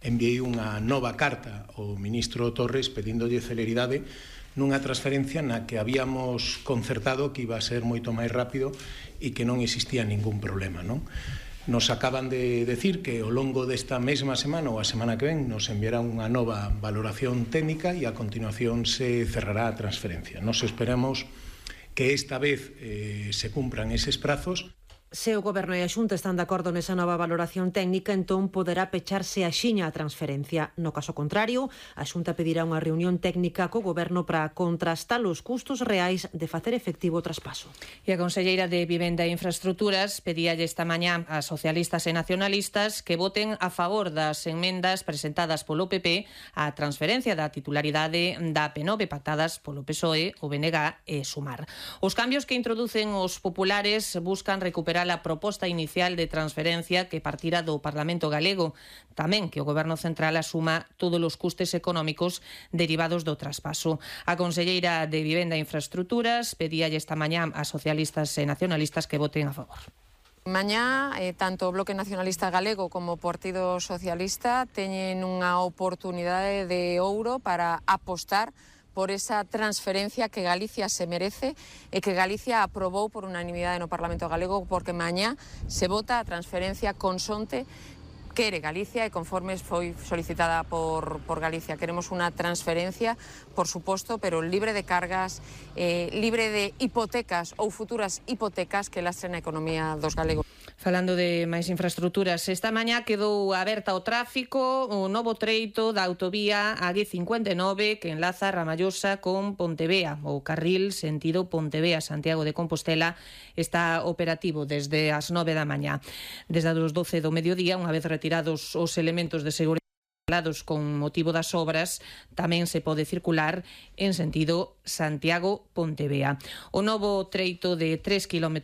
enviei unha nova carta ao ministro Torres pedíndolle celeridade nunha transferencia na que habíamos concertado que iba a ser moito máis rápido e que non existía ningún problema, non? Nos acaban de decir que ao longo desta mesma semana ou a semana que ven nos enviarán unha nova valoración técnica e a continuación se cerrará a transferencia. Nos esperamos que esta vez se cumpran eses prazos. Se o Goberno e a Xunta están de acordo nesa nova valoración técnica, entón poderá pecharse axiña a transferencia. No caso contrario, a Xunta pedirá unha reunión técnica co Goberno para contrastar os custos reais de facer efectivo o traspaso. E a conselleira de Vivenda e Infraestructuras pedíalle esta mañá a socialistas e nacionalistas que voten a favor das enmendas presentadas polo PP á transferencia da titularidade da AP9 pactadas polo PSOE, o BNG e Sumar. Os cambios que introducen os populares buscan recuperar a proposta inicial de transferencia que partira do Parlamento galego, tamén que o Goberno central asuma todos os custes económicos derivados do traspaso. A conselleira de Vivenda e Infraestructuras pedíalle esta mañá a socialistas e nacionalistas que voten a favor. Mañá, tanto o Bloque Nacionalista Galego como o Partido Socialista teñen unha oportunidade de ouro para apostar por esa transferencia que Galicia se merece e que Galicia aprobou por unanimidade no Parlamento Galego, porque mañá se vota a transferencia consonte quere Galicia e conforme foi solicitada por Galicia. Queremos unha transferencia, por suposto, pero libre de cargas, libre de hipotecas ou futuras hipotecas que lastren a economía dos galegos. Falando de máis infraestructuras, esta mañá quedou aberta ao tráfico o novo treito da autovía A59 que enlaza Ramallosa con Pontevea. O carril sentido Pontevea-Santiago de Compostela está operativo desde as 9 da mañá. Desde as 12 do mediodía, unha vez retirados os elementos de seguridade con motivo das obras, tamén se pode circular en sentido Santiago-Pontevea. O novo treito de 3,5 km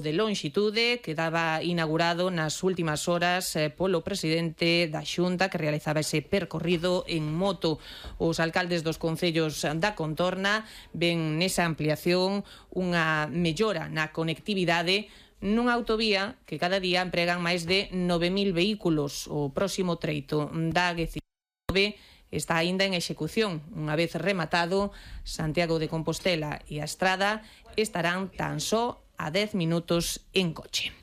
de lonxitude quedaba inaugurado nas últimas horas polo presidente da Xunta que realizaba ese percorrido en moto. Os alcaldes dos concellos da contorna ven nesa ampliación unha mellora na conectividade nunha autovía que cada día empregan máis de 9.000 vehículos. O próximo treito da A19 está aínda en execución. Unha vez rematado, Santiago de Compostela e a Estrada estarán tan só a 10 minutos en coche.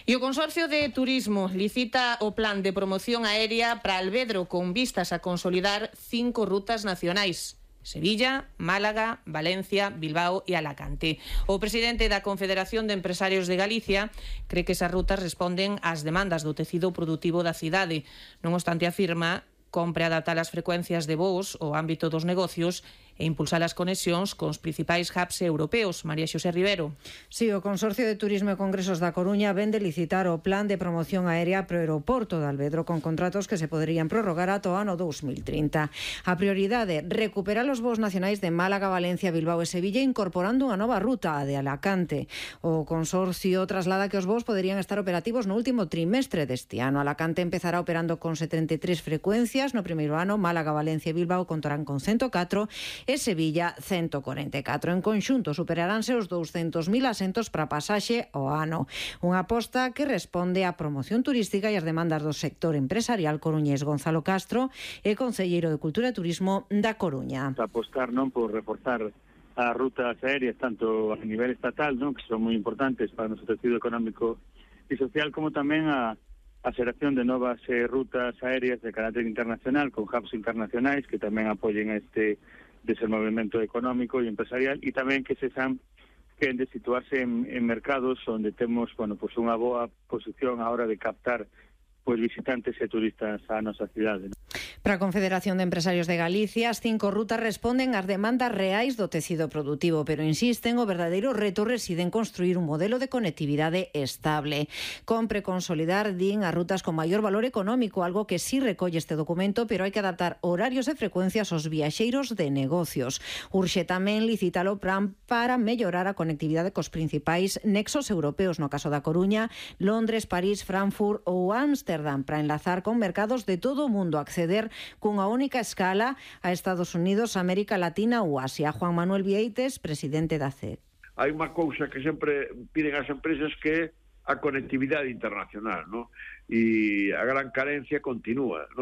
E o Consorcio de Turismo licita o plan de promoción aérea para Alvedro con vistas a consolidar 5 rutas nacionais: Sevilla, Málaga, Valencia, Bilbao e Alacante. O presidente da Confederación de Empresarios de Galicia cree que esas rutas responden ás demandas do tecido produtivo da cidade. Non obstante, afirma, compre adaptar as frecuencias de voos ao ámbito dos negocios e impulsar as conexións cos principais hubs europeos. María Xosé Rivero. Sí, o Consorcio de Turismo e Congresos da Coruña vende licitar o plan de promoción aérea pro aeroporto de Alvedro con contratos que se poderían prorrogar ata o ano 2030. A prioridade, recuperar os voos nacionais de Málaga, Valencia, Bilbao e Sevilla incorporando unha nova ruta, a de Alacante. O Consorcio traslada que os voos poderían estar operativos no último trimestre deste ano. Alacante empezará operando con 73 frecuencias no primeiro ano, Málaga, Valencia e Bilbao contarán con 104 e Sevilla 144. En conxunto superaránse os 200.000 asentos para pasaxe ao ano. Unha aposta que responde á promoción turística e as demandas do sector empresarial coruñés. Gonzalo Castro é concelleiro de Cultura e Turismo da Coruña. Apostar non por reforzar as rutas aéreas tanto a nivel estatal, non, que son moi importantes para o noso tecido económico e social, como tamén a xeración de novas rutas aéreas de carácter internacional con hubs internacionais que tamén apoyen este desenvolvemento económico e empresarial, e tamén que se san que han de situarse en mercados onde temos, pues unha boa posición a hora de captar visitantes e turistas á nosa cidade. Para a Confederación de Empresarios de Galicia, as 5 rutas responden ás demandas reais do tecido produtivo, pero insisten, o verdadeiro reto reside en construir un modelo de conectividade estable. Compre consolidar, din, as rutas con maior valor económico, algo que sí recolle este documento, pero hai que adaptar horarios e frecuencias aos viaxeiros de negocios. Urxe tamén licitar o plan para mellorar a conectividade cos principais nexos europeos, no caso da Coruña, Londres, París, Frankfurt ou Ámsterdam, para enlazar con mercados de todo o mundo, acceder cunha única escala a Estados Unidos, América Latina ou Asia. Juan Manuel Vieites, presidente da CEC. Hai unha cousa que sempre piden as empresas que é a conectividade internacional, ¿no? E a gran carencia continúa, ¿no?